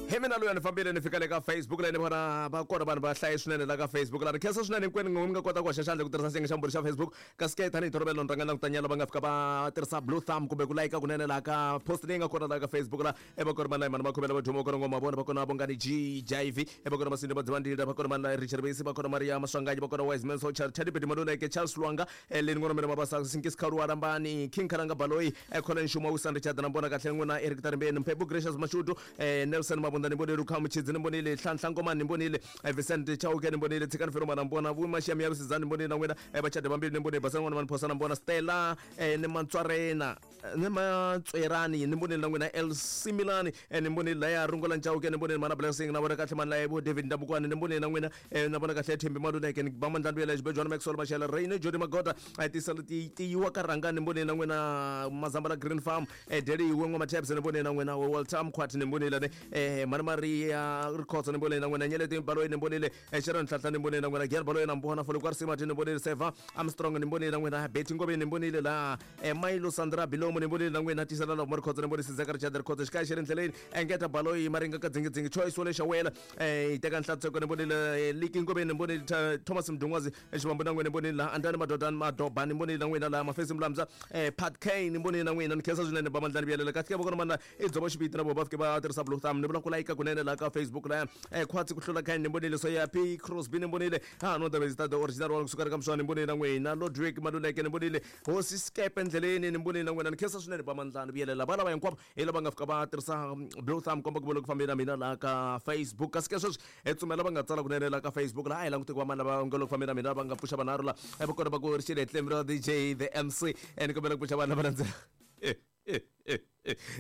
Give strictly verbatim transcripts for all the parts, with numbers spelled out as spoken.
Hi mina loyi a ni fambile ni fika le ka Facebook leyi ni vona va kona vanhu va hlaye swinene la ka Facebook la ni khensa swinene hinkwenu mi nga kota ku hoxa xandla ku tirhisa xiyenge xa mbhuri xa Facebook kasi ke tanihi tolovelo ni rhanga langutanyana va nga fika va tirhisa blue thumb kumbe ku layika kunene laha ka post leyi nga kona laha ka Facebook la e va kona mani mani makhomela va duma va kona ngoma vona va kona vongani G Jive e va kona Masindi Madzivandila va kona mani Richard Besi va kona Maria Maswanganyi va kona Wiseman Socha Teddy Bedi Maluleke Charles Lwanga Leni Ngwana Mene Mabasa Sinkisi Khaluwa Rambani King Khalanga Baloyi Colin Shuma Wisan Richard na mbona kahle n'wina Eric Tarimbeni Mphephu Gracious Mashudu Nelson Mabunda ni mbonile Lukhamu Chidzi ni mbonile Nhlanhla Ngomani ni mbonile Vincent Chauke ni mbonile Tshikani Feromana mbona Vumashia Miyabisizani ni mbonile na n'wina Vachade Vambili ni mbonile Basana N'wana Maniphosa na mbona Stella ni Mantswarena ni Matswerani ni mbonile na n'wina El Similani ni mbonile laya Rungola Chauke ni mbonile Mana Blessing na vona kahle mani laya bo David Ndabukwane ni mbonile na n'wina na vona kahle Thembi Maluleke ni ba Mandla Ndwela Xibejwana Maxwell Mashela Raine Jody Magota a tisela ti tiyiwa ka rhanga ni mbonile na n'wina Mazambala Green Farm Deli Wengo Matabs ni mbonile na n'wina Walter Mkhwati ni mbonile ne eh Mana Maria Rikhotso ni mbonile na n'wina Nyeleti Baloyi ni mbonile Sharon Nhlanhla ni mbonile na n'wina Gier Baloyi na mbona Folo Kwarsima ni mbonile Seva Armstrong ni mbonile na n'wina Betty Ngobeni ni mbonile la Milo Sandra Bilomo ni mbonile na n'wina Tisela Love Rikhotso ni mbonile Sizeka Richard Rikhotso xikaya xi ri ndleleni Engeta Baloyi Maringa ka Dzingi Choice Wole Shawela eh teka Nhlantseko ni mbonile Liki Ngobeni ni mbonile Thomas Mdungwazi Xivambu na n'wina ni mbonile la Andani Madodani Madoba ni mbonile na n'wina la Mafesi Mlamza eh Pat Kane ni mbonile na n'wina ni khensa swinene ba Mandlani Byelela kahle ke vona mana i dzobo xiviti na vo va fike va tirhisa blue thumb ni vula ku layika kunene la ka Facebook la eh khwatsi ku hlula khaini ni mbonile so ya P Crosby ni mbonile ha no the best the original one kusuka ka mswani ni mbonile na n'wina Lodwick Maluleke ni mbonile Hosi Skepe ndleleni ni mbonile na n'wina ni khensa swinene ba Mandlani Byelela va lava hinkwavo hi lava nga fika va tirhisa blue thumb komba ku vona ku fambela mina la ka Facebook kasi ke sweswi hi tsumela va nga tsala kunene la ka Facebook la a hi langute ku va mani lava nga loko fambela mina va nga pfuxa vanharhu la va kona va ku ri xile Tlembi D J the M C ni kombela ku pfuxa vanhu lava landzela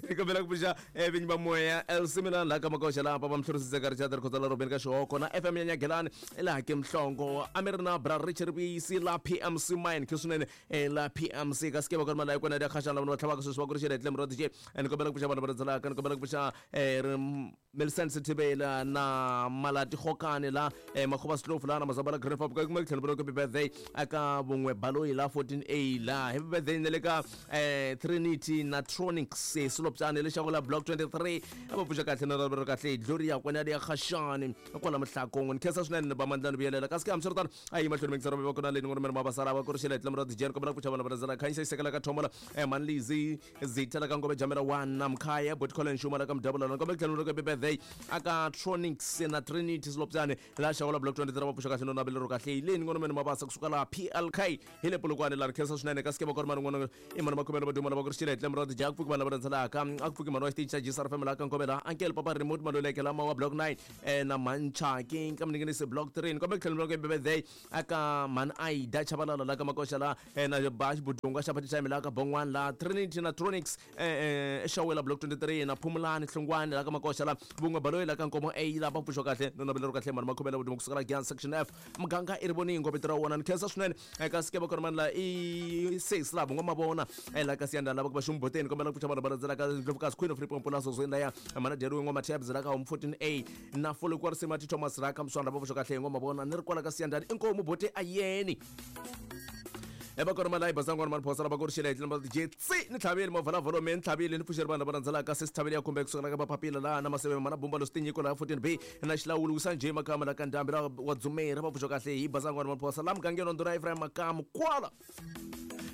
ni kombela ku pfuxa vinyi va moya El Similani laha ka Makoxa laha papa Mhlorisise ka Richard Rikhotso la Robeni ka Xihoko na F M ya Nyagelani laha ke Mhlongo a mi ri na Bra Richard Bisi la P M C Mine khe swinene la P M C kasi ke va kona malayi kona ya khaxa lava va tlhavaka sweswi va ku ri xile Tlembi ra D J ni kombela ku pfuxa vanhu va landzelaka ni kombela ku pfuxa Millicent Sithibela na Malati Khokane la Makhoba Slofu la na Mazambala Green Farm ka kuma tlhelo vona ku birthday aka Vun'we Baloyi la fourteen A la happy birthday ne le ka Trinity na Tronics Silopjane le xaku la Block twenty-three a va pfuxa kahle na ra kahle Gloria kwena ya Khashani kwala Mhlakong ni khensa swinene ba Mandlani Byelela kasi ke hambiswiritano a yi mahlweni mingisero va kona leyi ngomela mabasara va ku ri xile Tlembi ra D J kombela ku pfuxa vanhu va landzela Khanyisa Isekela ka Thomola Manlizi Zitela ka Ngove Jamela one na Mkhaya Bot Colin Shuma la ka Mdabula na kombela tlhelo ka birthday aka Tronics na Trinity Silopjane la xaku la Block twenty-three va pfuxa kahle no navelo kahle leyi ngomela mabasa kusuka la P L K hi le Polokwane la khensa swinene kasi ke va kona man'wana i mana makhomelo va duma lava ku ri xile Tlembi ra D J ku pfuki vanhu lava landzelaka a ku pfuki mhani wa xitichi xa G S R F M laha ka Nkovela Uncle Papa Remote Maluleke lama wa Block nine na Manchaki ka Mninginisi Block three ni kombela ku tlhela ni birthday aka Mhani Aida Chabalala la ka Makoxa la na Bash Budunga xa Patichami la ka Bongwana la Trinity na Tronics Xawela Block twenty-three na Phumulani Hlungwani la ka Makoxa la Vun'we Baloyi la ka Nkomo A la va pfuxo kahle no navelo kahle mhani makhomela vuduma kusuka la Gyan Section F muganga i ri voningo vito ra wona ni khensa swinene kasi ke va kona mani la i six la vun'we mavona la ka Siyanda lava ku va xumboteni kombela ku pfuxa vanhu va landzelaka Ndlovukazi Queen of Limpopo la Zozweni laya Mana Deriwe Ngoma Tabs la ka Home fourteen A na Folo kwa Risimati Thomas la ka Mswanda va pfuxa kahle ngoma vona ni ri kwala ka Siyandani inkomu bote ayeni eva kona malayi basangwana maniphosa lava ku ri xile Tlembi ra D J tsi ni tlhavile mavhalavhalo me ni tlhavile ni pfuxeri vanhu lava landzelaka se sithavile ya kumbe kusukela ka mapapila laha na maseve mana bumba lo sitinyiko laha fourteen B na xilawuli wisa njhe Makama la ka Ndhambi la wa Dzumeri va pfuxa kahle hi basangwana maniphosa la mugangeni wa Ndhuna Ephraim Makamu kwala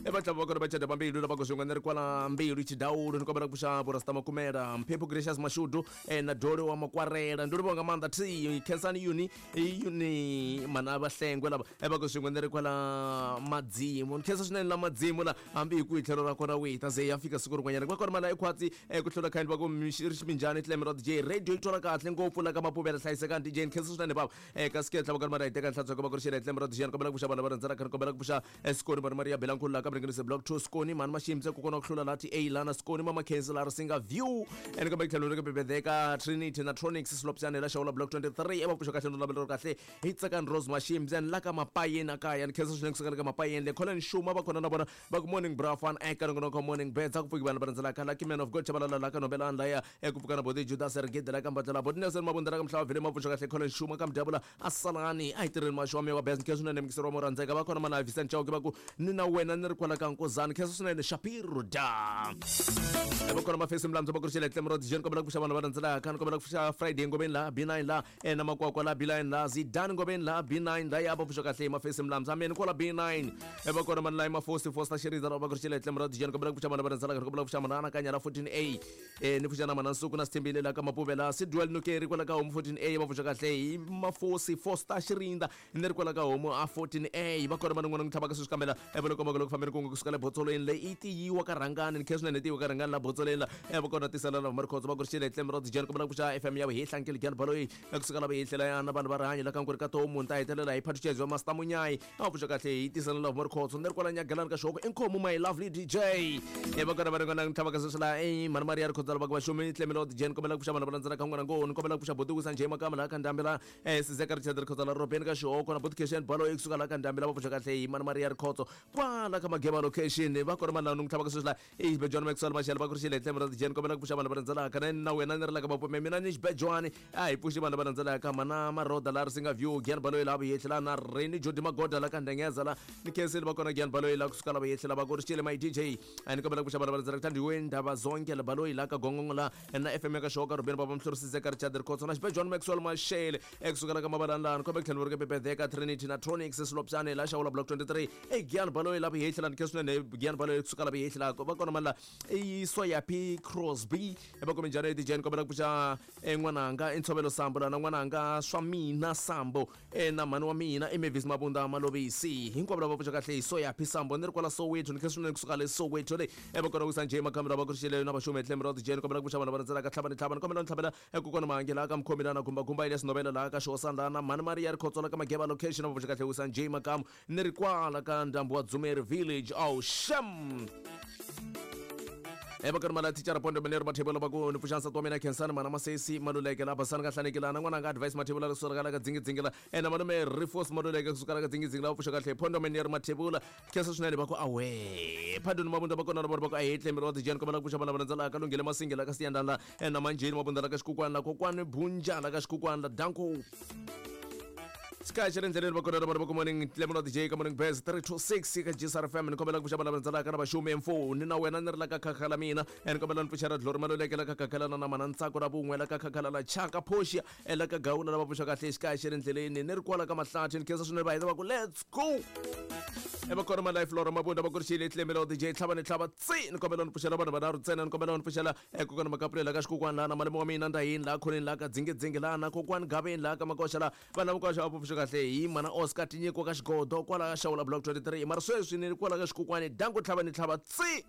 eva tlhava va kona va chada vambili lava ku swin'we ni ri kwala Mbilu Xidawulo ni kombela ku pfuxa Borasta Makumela Mphephu Gracious Mashudu na Dolo wa Makwarela ndi livonga maanḓa T Khensani Uni Uni mana va Hlengwe lava eva ku swin'we ni ri kwala Madzimu ni khensa swinene la Madzimu la hambi hi ku hi tlhelo ra kona wihi ta ze ya fika siku rin'wanyana va kona mana i khwatsi ku hlula khayini va ku ri ximinjhani Tlembi ra D J radio yi twala kahle ngopfu la ka Mapuvela hlayisekani D J ni khensa swinene bava kasi ke tlhava kona mana hi teka nhlantswa va ku ri xile Tlembi ra D J ni kombela ku pfuxa vanhu va rhandzela ni kombela ku pfuxa Sikoni Mani Maria Belankulu la ka Mringanisi Block two Sikoni Mani Mashimtse ku kona ku hlula la T A lana Sikoni Mama Khensi la Risinga View ene kombela ku tlhela ka bebedeka Trinity na Tronics Silopjane la Xawula Block twenty-three eva pfuxa kahle no lavelo kahle hi Tsakani Rose Mashimtse la ka Mapayeni akaya ni khensa swinene kusuka ka Mapayeni le Colin Shuma va kona na vona va ku morning bra fan eka nongonoko morning beds a ku pfuki vanhu va rhandzelaka Lucky Man of God Chabalala la ka Nobelani laya eku pfuka na Boti Judas Rigede la ka Mbadlela Boti Nelson Mabunda la ka Mhlava Vile mapfuxa kahle Colin Shuma ka Mdabula Asalani a hi tirheni maxo wa mewa best ni khensa swinene mikisero wa mo rhandzeka va kona mana Vincent Chauke va ku ni na wena ni ri kwala ka Nkozani khensa swinene Shapiro da e va kona mafesi mlamdzo va ku ri xile Tlemro D J ni kombela ku pfuxa vanhu va landzelaka ni kombela ku pfuxa Friday ngomeni la B nine la e na makwakwa la B nine la Zidane ngomeni la B nine la ya va pfuxa kahle mafesi mlamdzo ameni kwala B nine e va kona mani la mafosi fosta xiriza va ku ri xile Tlemro D J ni kombela ku pfuxa vanhu va landzelaka ni kombela ku pfuxa manana kanya la fourteen A e ni pfuxa na mana Nsuku na Sithembile la ka Mapuvela Sidwell Nukeri kwala ka Homu fourteen A va pfuxa kahle hi mafosi fosta xirinda ni ri kwala ka Homu a fourteen A va kona vanhu n'wana n'wi tlhavaka sweswi kambela e va loko loko fambeni kun'we kusuka le Botsolweni leyi i tiyiwa ka Rhangani ni khe swinene tiyiwa ka Rhangani la Botsolweni la e va kona tisela na Marikhotso va ku ri xile Tlemro D J ni kombela ku pfuxa F M ya vuhehla nkeli Gyani Baloyi kusuka la vuhehlela ya na vanhu va rihanyo la ka Nkuri ka Tomu ni ta hetelela hi Phathuchedzo wa Master Munyayi a pfuxa kahle hi tisela na Marikhotso ni ri kwala Nyagalani ka Xihoko inkomu my lovely D J e va kona vanhu n'wana n'wi tlhavaka sweswi la e mhani Maria Rikhotso va ku va xumi Tlemro D J ni kombela ku pfuxa vanhu va landzelaka n'wana ngo ni kombela ku pfuxa Botiwisa Njhe Makama la ka Ndhambi la e Sizeka Richard Rikhotso la Robeni ka Xihoko na Botication Baloyi kusuka la ka Ndhambi la va pfuxa kahle hi mhani Maria Rikhotso kwala ka Mageba location va kona vanhu lava n'wi tlhavaka sweswi la e Xibejwani Maxwell Mashele va ku ri xile Tlemro D J ni kombela ku pfuxa vanhu va landzelaka na na wena ni ri la ka Mapume mina ni Xibejwani a hi pfuxi vanhu va landzelaka mana Maroda la Risinga View Gyani Baloyi la vuhehla la na Reni Jodi Magoda la ka Ndengeza la ni khensile va kona Gyani Baloyi la kusuka la vuhehla va ku ri xile my D J a ni kombela ku pfuxa vanhu va landzelaka Thandiwe Ndaba Zonke la Baloyi la ka Gongongo la na F M ya ka Xihoko Rubeni Baba Mhluri Sizeka Richard Rikhotso na Xibejwani Maxwell Mashele ekusuka la ka Mabalani la ni kombela ku tlhela ni ri ka Bebedeka Trinity na Tronix Silopsane la Xawula Block twenty-three e Gyani Baloyi la vuhehla ni khe swinene Gyani Baloyi kusuka la vuhehla va kona mani la i Soyapi Crosby e va kome njhani D J ni kombela ku pfuxa n'wananga i Ntshovelo Sambo la na n'wananga swa mina Sambo e na mhani wa mina i Mavis Mabunda Malovisi hinkwavo lava pfuxa kahle hi Soyapi Sambo ni ri kwala Soweto ni khe swinene kusuka le Soweto le e va kona ku Sanjay Makamela va ku ri xile na vaxumi Tlemro D J ni kombela ku pfuxa vanhu va landzelaka tlhava ni tlhava ni kombela ni tlhavela kokwana Mahangela ka Mukhomi la na Gumba Gumba Elias Novela la ka Xihosana la na mhani Maria Rikhotso la ka Mageba location va pfuxa kahle ku Sanjay Makamu ni ri kwala ka ndhambi wa Dzumeri village oh sham e va kona mala thicara Pondo Manero Mathebula va ku ni pfuxa nsati wa mina Khensani mana Masesi Maluleke la Basani ka Hlanekela na n'wananga Advice Mathebula la kusuka la ka Dzingidzingi la e na malume Rifos Maluleke kusuka la ka Dzingidzingi la va pfuxa kahle Pondo Manero Mathebula khensa swinene va ku awe Pardon Mabunda va kona na vona va ku a hi Tlemro D J ni kombela ku pfuxa vanhu va landzelaka Lunghile Masingi la ka Siyandana la e na Manjeni Mabunda la ka Xikukwana la Kokwani Bunja la ka Xikukwana la Danko Sky xi ri endleleni va kona na vona va ku morning Tlemro D J ka morning best three two six ka G S R F M ni kombela ku pfuxa vanhu va landzelaka na vaxumi M four ni na wena ni ri la ka Khakhala mina ni kombela ni pfuxa ra Dlori Maluleke la ka Khakhala na mana Ntsako ra vun'we la ka Khakhala la Chaka Poshia e la ka Gawula lava pfuxa kahle xikaya xi ri endleleni ni ri kwala ka Mahlathi ni khensa swinene va heta va ku let's go e va kona ma life Lora Mabunda va ku ri xile Tlemro D J tlhava ni tlhava tsi ni kombela ni pfuxela vanhu vanharhu ntsena ni kombela ni pfuxela kokwana Makapulela ka Xikukwana la na malume wa mina Ndahini la Khoneni la ka Dzingidzingi la na kokwani Gaveni la ka Makoxa la vanhu lava Makoxa va pfuxa kahle hi mana Oscar Tinyiko ka Xigodo kwala ka Xawula Block twenty-three mara sweswi ni kwala ka Xikukwani danku tlhava ni tlhava tsi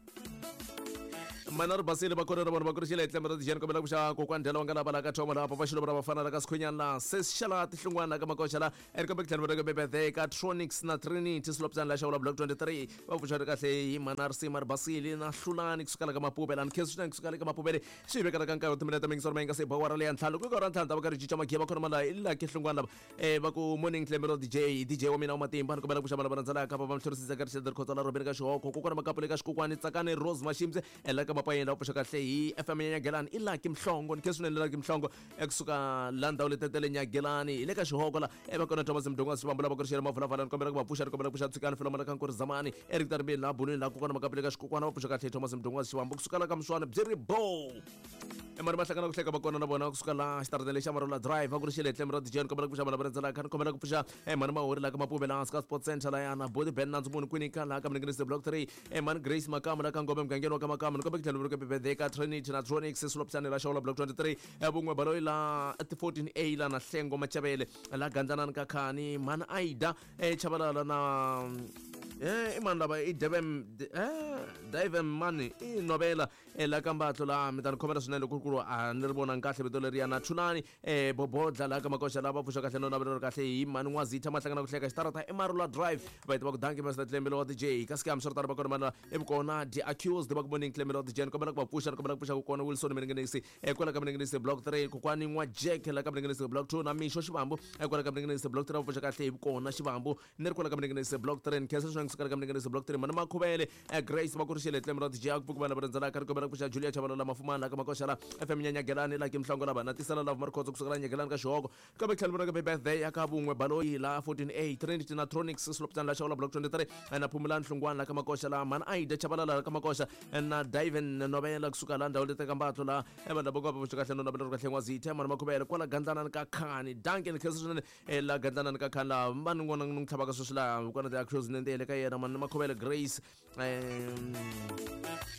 mana ri basile va kona na vona va ku ri xile Tlemro D J ni kombela ku pfuxa kokwani Ndlela wa nga lava la ka Thoma la papa Xilovo ra vafana la ka Sikhwinyana la Sis Xala Tihlungwana la ka Makoxa la eri kombe ku tlhela va ka Bebedeka Tronix na Trinity Silopsana la Xawula Block twenty-three va pfuxa ri kahle hi mana Risima ri basile na Hlulani kusuka la ka Mapuve la ni khensa swinene kusuka le ka Mapuvele swi vekela ka nkarhi wa timinete mingi swa nga se bawara leya ntlhanu ku ka ra ntlhanu ta va ka ri cinca magiya va kona mala i la ke Hlungwana lava e va ku morning Tlemro D J D J wa mina wa matimba ni kombela ku pfuxa vanhu va landzelaka va va Mhlorisisa ka Richard Rikhotso la Robeni ka Xihoko kokwana Makapule ka Xikukwani Tsakani Rose Mashimse e la ka Mapayeni la pfuxa kahle hi F M ya Nyagelani i Lucky Mhlongo ni khe swinene Lucky Mhlongo ekusuka la ndhawu letetele Nyagelani hi le ka Xihoko la e va kona Thomas Mdongo Sibambo la va ku ri xele Mavulavala ni kombela ku va pfuxa ni kombela ku pfuxa Tshikani Filomela ka Nkuri Zamani Eric Taribeni la Bunweni la kokwana Makapule ka Xikukwana va pfuxa kahle Thomas Mdongo Sibambo kusuka la ka Mswana byi ri bo e mari mahlangana ku hleka va kona na vona kusuka la xitarateni lexa Marola Drive va ku ri xile Tlemro D J ni kombela ku pfuxa vanhu va landzelaka ni kombela ku pfuxa e mani Mahori la ka Mapuve la hansi ka Sports Center la yana Body Ben Nandzu Munhu kwini ka la ka Mninginisi Block three e mani Grace Makamu la ka Ngome mugangeni wa ka Makamu ni kombela ku tlhela ku Bebedeka Trinity na Tronix Silopsane la Xawula Block twenty-three e vun'we Baloyi la fourteen A la na Hlengo Machavele la Gandzanani ka Khani mani Aida e Chabalala na eh i mani lava i Devem eh Devem mani i Novela e la ka Mbatlo la mi ta ni khomela swinene ku ku a ni ri vonanga kahle vito leriya na Thulani e Bobodla la ka Makoxa lava pfuxa kahle no navela kahle hi mani N'wazitha Mahlangana ku hleka xitarata i Marula Drive va heta va ku danki Master Tlemelo wa D J ka scam swi ri tano va kona mana i vukona The Accused va ku morning Tlemelo wa D J ni kombela ku va pfuxa ni kombela ku pfuxa ku kona Wilson Mninginisi e kwala ka Mninginisi Block three kokwani N'wa Jack la ka Mninginisi Block two na Mixo Xivambu e kwala ka Mninginisi Block three va pfuxa kahle hi vukona Xivambu ni ri kwala ka Mninginisi Block three ni khensa swinene kusuka ka mninganiso block three mana Makhuvele Grace va ku ri xile tlemo ra D J ku vana va rhandzela ka ri kombela ku pfuxa Julia Chabalala Mafumana ka Makoxa la F M Nyanyagelani la Kimhlongo la bana tisela love Markhotso kusuka la Nyagelani ka Xihoko kambe tlhelo vona ka birthday ya ka vun'we Baloyi la fourteen A Trinity na Tronics Sloptan la Xawula block twenty-three na Phumulani Hlungwana la ka Makoxa la Mana Aida Chabalala ka Makoxa na Diven Novela kusuka la ndhawu leti ka Mbatlo la vanhu lava va pfuxa kahle no navela kahle n'wazithe mana Makhuvele kwala Gandlana ka Khani Duncan Khesiswene la Gandlana ka Khani la vanhu n'wana n'wi tlhavaka sweswi la kona ti actions nentele ka yena mana Makhuvele Grace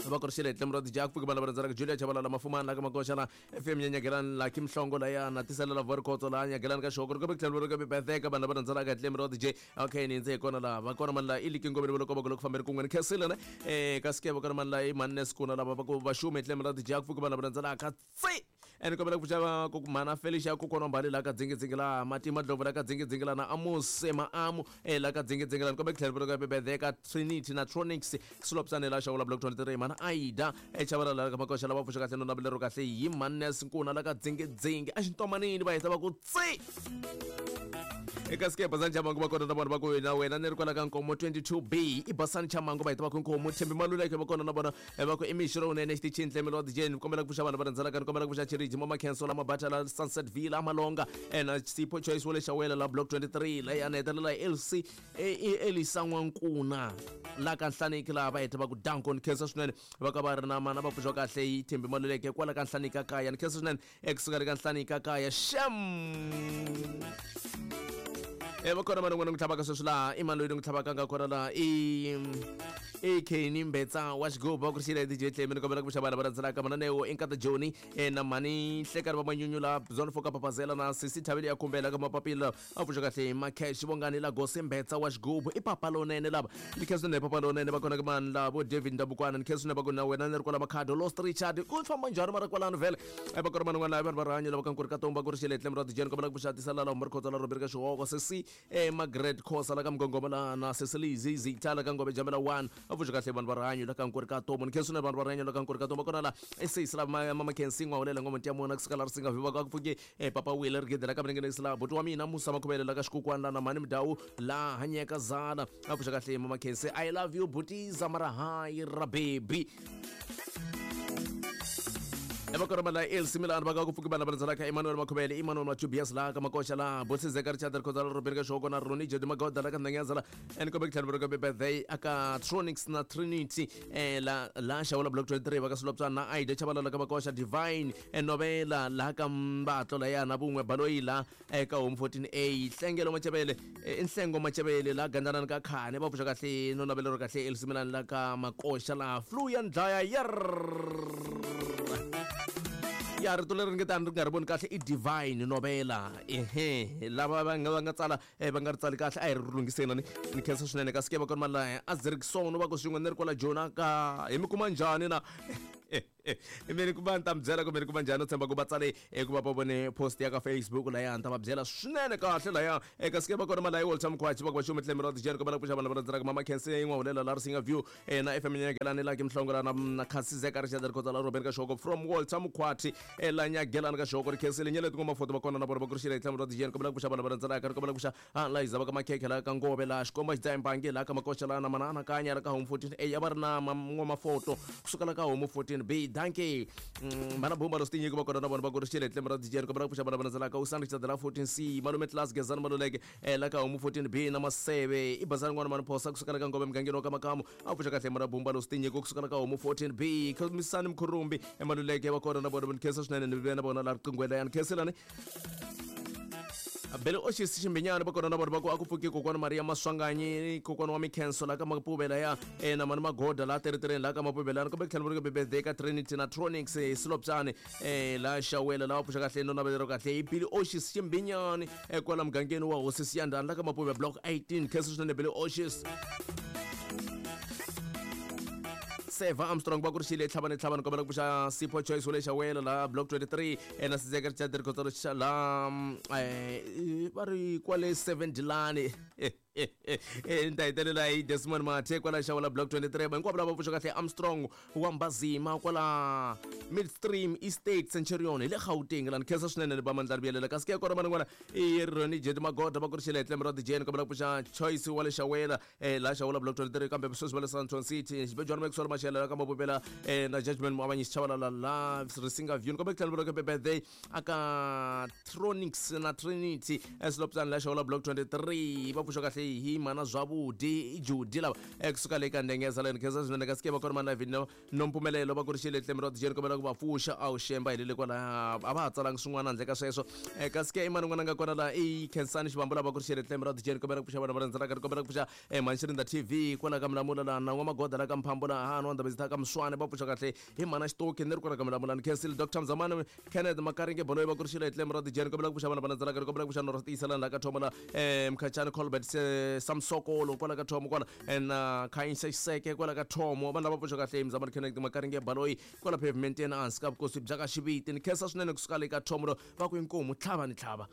va ku ri xile tlemo ra D J ku vana va rhandzela Julia Chabalala Mafumana la ka Makoxa la F M Nyanyagelani la Kimhlongo la ya na tisela la Vorkhotso la Nyagelani ka Xihoko ri tlhelo ri ka birthday ka vanhu lava rhandzela tlemo ra D J okay ni ndze kona la va kona mani la i likingo vele loko va loko famberi kun'we ni khensile ne eh ka sikeva kona mani la i mannes kuna lava va ku va xume tlemo ra D J ku vana va rhandzela ka tsi ene kombela ku pfuxa ku mana Felicia ku kona mbali la ka dzingidzingi la Matima Dlovu la ka dzingidzingi la na Amos Maamu eh la ka dzingidzingi la kombela tlhelo ka birthday ka Trinity na Tronics Slopsane la Xawula block twenty-three mana Aida e Chabalala ka Makoxa la va pfuxa kahle no navela kahle hi mannes nkuna la ka dzingidzingi a xintomanini va heta va ku tsi eka sikepa za Chamango va kona na vona va ku na wena ni ri kwala ka Nkomo twenty-two B i Basani Chamango va heta va ku Nkomo Thembi Maluleke va kona na vona va ku i mixo lowunene xitichini tlemo wa D J ni kombela ku pfuxa vanhu va rhandzelaka ni kombela ku pfuxa Chiriji Mama Khenso la Mabata la Sunset Villa Malonga na Sipho Choice wa le Xawela la block twenty-three la ya hetelela L C Elisa N'wankuna la ka Nhlaniki laha va heta va ku danko ni khensa swinene va ka va ri na mana va pfuxa kahle yi Thembi Maluleke kwala ka Nhlaniki ka kaya ni khensa swinene ekusuka le ka Nhlaniki ka kaya xem e va kona mani n'wana n'wi tlhavaka sweswi laha i mani loyi ni n'wi tlhavaka nga kona laha i i Kenny Mbetsa wa xigubu va ku ri xile D J Tlemi ni kombela ku pfuxa vanhu va rhandzelaka mananeo i Nkata Joni na mhani Hlekani va Manyunyu la Zone four ka Papazela na Sisi Thavile ya Khumbela ka Mapapila a pfuxa kahle Makhesh Vongani la Gosi Mbetsa wa xigubu i papa lonene lava ni khensa swinene papa lonene va kona ka mani la vo David Ndabukwana ni khensa swinene va ku na wena ni ri kwala Makhado Lost Richard ku famba njhani mara kwalano vhele va kona mani n'wana vanhu va rihanyo lava ka Nkuri ka Tomba ku ri xile tlemo ra D J ni kombela ku pfuxa tisala la Markhotso la Robert ka Xihoko Sesi eh Margaret Khosa la ka Mgongoma la na Cecily Zizi Tala ka Ngove Jamela one a pfuxa kahle vanhu va rihanyo la ka Nkuri ka Tomo ni khensa swinene vanhu va rihanyo la ka Nkuri ka Tomo kona la esesi la Mama Khensi N'wahulela ngoma ntiya mona kusuka la Risinga Viva ka ku pfuke eh Papa Wile Rigede la ka Mningenisi la buti wa mina Musa Makhuvele la ka Xikukwana la na Mhani Mdawu la Hanyeka Zala a pfuxa kahle Mama Khensi I love you butiza mara hayi ra baby eva kona mala L C Milan va ka ku pfuki vana va rhandzelaka Emmanuel Makhuvele Emmanuel Machubias la ka Makoxa la Bosizeka Richard Khoza la Robert ka Xihoko na Ronnie Jedi Magoda la ka Ndanyaza la ene kombe tlhelo va ka birthday aka Tronics na Trinity eh la la Xawula block twenty-three va ka Slopsana na Aida Chabalala ka Makoxa Divine Novela la ka Mbatlo la ya na vun'we Baloyi la eka Home fourteen A Hlengelo Machavele Nhlengo Machavele la Gandana ka Khane va pfuxa kahle no navelo kahle L C Milan la ka Makoxa la flu ya ndlaya yer ya rito leri nge tani ri nga ri voni kahle i Divine Novela ehe lava va nga va nga tsala va nga ri tsali kahle a hi ri lunghiseni ni ni khensa swinene kasi ke va kona mali la Azrikson va ku swin'we ni ri kwala Jona ka hi mi kuma njhani na mi ni kuma ni ta mi byela ku mi ni kuma njhani u tshemba ku va tsale ku va va vone post ya ka Facebook laya ni ta va byela swinene kahle laya eka sike va kona mali ya Walter Mkhwachi va ku va xume tlemo ra D J ko va ku pfuxa vanhu va rhandzela Mama Khensi N'wahulela la Risinga View na F M Nyagelani la Kimhlongo la na Khasizeka Richard Khoza la Robert ka Xihoko from Walter Mkhwachi la Nyagelani ka Xihoko ri khensile nyeleti ngoma foto va kona na vona va ku ri xile tlemo ra D J ko va ku pfuxa vanhu va rhandzela ka ko va ku pfuxa Liza va ka Makhekhe la ka Ngove la Xikomba Xidzaimbangi la ka Makoxa la na Mana Anakanya la ka Home fourteen A ya va ri na ngoma foto kusuka la ka Home fourteen B danke mana bomba lo stinyi ku va kona na vona va ku ri xile tlemo ra D J ko va ku pfuxa vanhu va rhandzela ka Usani Richard la fourteen C Malume Class Gezani Maluleke la ka Home fourteen B na Maseve i Bazani n'wana mani Phosa kusuka la ka Ngove mugangeni wa ka Makamu a pfuxa kahle mana bomba lo stinyi ku kusuka la ka Home fourteen B Misani Mkhurumbi Maluleke va kona na vona va ni khensa swinene ni ve na vona la riqingweni ya ni khenselani Bele Oshisi Ximbinyana va kona na vona va ku a ku pfuki kokwana Maria Maswanganyi kokwana wa Mikhenso la ka Mapuvela ya na mani Magoda la Teritereni la ka Mapuvela kumbe tlhelo va ri ka birthday ka Trinity na Tronics Slopsane la Xawela la va pfuxa kahle no navelero kahle i Billy Oshisi Ximbinyani kwala mugangeni wa Hosi Siyandhani la ka Mapuvela block eighteen khensa swinene Billy Oshisi Seva Armstrong va ku ri xile tlhavani tlhavani kombela ku pfuxa Sipho Choice wa le Xawela la block twenty-three na Sizeka Richard Khoza la eh va ri kwale seven Dilani Ni ta hetelela hi Desmond Mathe kwala Xawula Block twenty-three. Hinkwavo lava pfuxa kahle Armstrong wa Mbazima kwala Midstream Estate Centurion hi le Gauteng la ni khensa swinene ni ba mandla vuyelela kasi ke kona man'wana i Ronnie Jet Magoda va ku ri xile Tlem ra Jane kombela ku pfuxa Choice wa le Xawela eh la Xawula Block twenty-three kambe sweswi va le Sandton City Xibejwana Maxwell Mashela ka Mabopela eh na Judgment Muavanyi Chabalala la Risinga View kombela ku tlhela ku birthday aka Tronics na Trinity eslopsana la Xawula Block twenty-three va pfuxa kahle hi mana zwavudi Judy lava ekusuka le ka Ndengeza le khensa swinene kasi ke va kona mana vino Nompumelelo va ku ri xile Tlem ra Jane kombela ku va pfuxa a wu xemba hi le kwala a va ha tsalangi swin'wana handle ka sweswo kasi ke i mani n'wana nga kona la i Khensani Xivambu lava ku ri xile Tlem ra Jane kombela ku pfuxa vana va rhandzaka ri kombela ku pfuxa Manxirinda T V kwala ka Milamula la na N'wamagoda la ka Mphambo la ha no Ndabezitha ka Mswane va pfuxa kahle hi mana Xitoki ni ri kwala ka Milamula ni khensile Doctor Mzamani Kenneth Makaringe Boloyi va ku ri xile Tlem ra Jane kombela ku pfuxa vana va rhandzaka ri kombela ku pfuxa North East la ka Thomo la Mkhachani Colbert Samsokolo kwala ka Thomo kwala na Khanyisa Xiseke kwala ka Thomo vanhu lava pfuxa kahle Mzamani Kenneth Makaringe Baloyi kwala pavement ena hansi ka vukosi bya ka Xiviti ni khensa swinene kusuka le ka Thomo va ku inkomu tlhava ni tlhava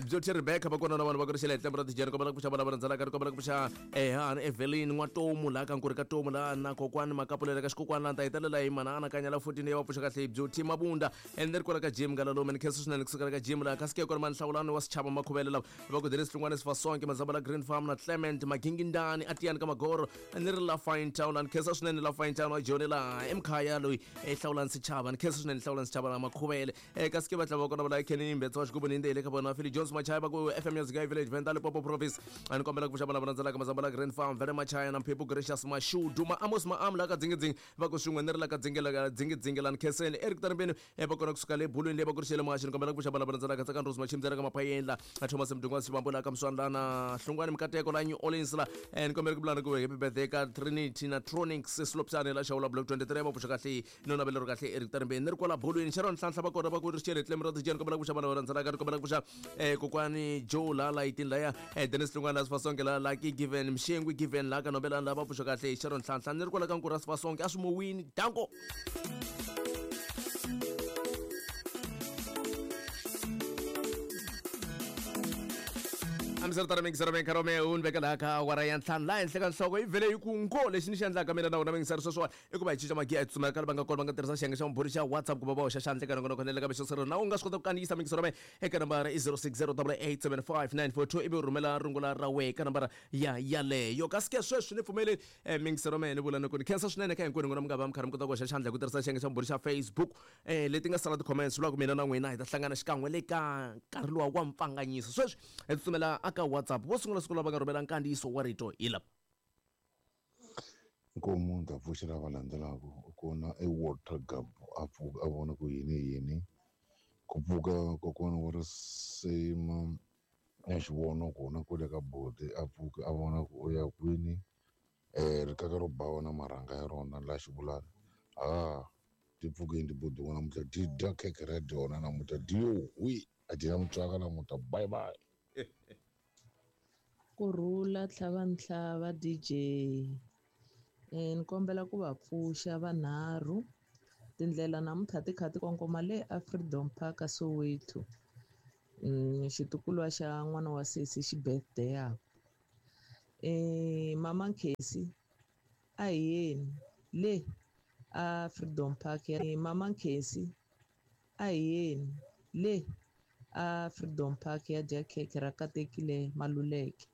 Beauty Rebecca va kona na vanhu va ku ri xile Tlem ra Jane kombela ku pfuxa vana va rhandzaka ri kombela ku pfuxa eh Evelyn N'watomu la ka Nkuri ka Tomu la na kokwani Makapulela ka Xikokwani la ta hetelela hi mana anakanya la fourteen ya va pfuxa kahle Beauty Mabunda and ri kwala ka Jim Ngalalume ni khensa swinene kusuka ka Jim la kasi ke kona Manhlawulani wa Sechaba Makhuvele lava va ku Dennis Hlungwane Sifasonke Mazamba la Green Farm na Clement Magingindani Atiyani ka Magoro ni ri la Fine Town la ni khensa swinene la Fine Town wa Joni la Emkhaya loyi Hlawulani Sechaba ni khensa swinene Hlawulani Sechaba la Makhuvele kasi ke va tlhela va kona va la Kenny Mbetsa wa Xigubu ni ndele ka vona Philly Jones Machaya va ku F M Music Village Venda Limpopo Province ani kombela ku pfuxa vana va rhandzaka Mazamba la Green Farm Vele Machaya na Mphephu Gracious Mashudu ma Amos Maam la ka Dzingidzingi va ku swin'we ni ri la ka Dzingela Dzingidzingi la ni khenseni Eric Tarambeni va kona kusuka le Bulwini le va ku ri xele Maxi ni kombela ku pfuxa vana va rhandzaka Tsakani Rose Machimdzela ka Maphayeni la Thomas Mdungwa Xivambu la ka Mswana la na Hlungwani Mkateko la New Orleans la ni kombela ku vulana ku happy birthday ka Trinity na Tronics Slopsane la Xawula Block twenty-three va pfuxa kahle no navelero kahle Eric Tarambeni ni ri kwala Bulwini Sharon Nhlanhla va kona va ku ri xele Tlem ra Jane kombela ku pfuxa vana va rhandzaka ni kombela ku pfuxa eh kokwani Joe la la itin laya eh Dennis Hlungwana Sifasonke la Lucky Given Mshengwi Given la ka Nobelani la va pfuxa kahle Sharon Nhlanhla ni ri kwala ka Nkura Sifasonke a swi mowini danko. Amsar mingisero minkarhi me un veka laha ka awara ya ntlhanu laha henhla ka nhloko yi vhele yi ku ngo lexi ni xi endlaka mina na wena mingisero sweswiwani i ku va hi cinca magiya hi tsutsumela ka va nga kona va nga tirhisa xiyenge xa vumbhuri xa WhatsApp ku va va hoxa xandla eka nongonoko na le ka mixosero na u nga swi kota ku kandziyisa mingisero me eka nambara i zero six zero double eight seven five nine four two ivi u rhumela rungula ra wehe ka nambara ya yaleyo kasi ke sweswi ni pfumeleli mingisero me ni vula ni ku ni khensa swinene ka hinkwenu n'wina mi nga va mi karhi mi kota ku hoxa xandla hi ku tirhisa xiyenge xa vumbhuri xa Facebook eh leti nga sala ti-comments vulaka mina na n'wina hi ta hlangana xikan'we le ka nkarhi luwa wa mpfanganyiso sweswi hi tsutsumela aka WhatsApp vo sungula siku lava nga rhumela nkandziyiso wa rito hi lava Nkomu ni ta pfuxela va landzelaka kona i Walter Gabo a pfuka a vona ku yini yini ku pfuka kokwana wa risima ya xivono kona kwale ka bodi a pfuka a vona ku u ya kwini um rikaka ro bawa na marhanga ya rona la xivulana a ti pfukeni tibodi n'wana namuntlha ti dya khekhe ra dyona namuntlha dyi hwi a dyi na mutswaka namuntlha bye bye. Kurhula tlhava ntlhava D J eh ni kombela ku va pfuxa vanharhu tindlela namuntlha ti kha ti kongoma le a Freedom Park a Soweto mm xitukulwa xa n'wana wa sesi xi birthday yakwe eh mama Nkhesi a hi yeni le a Freedom Park ya mama Nkhesi a hi yeni le a Freedom Park ya dya khekhe ra katekile Maluleke.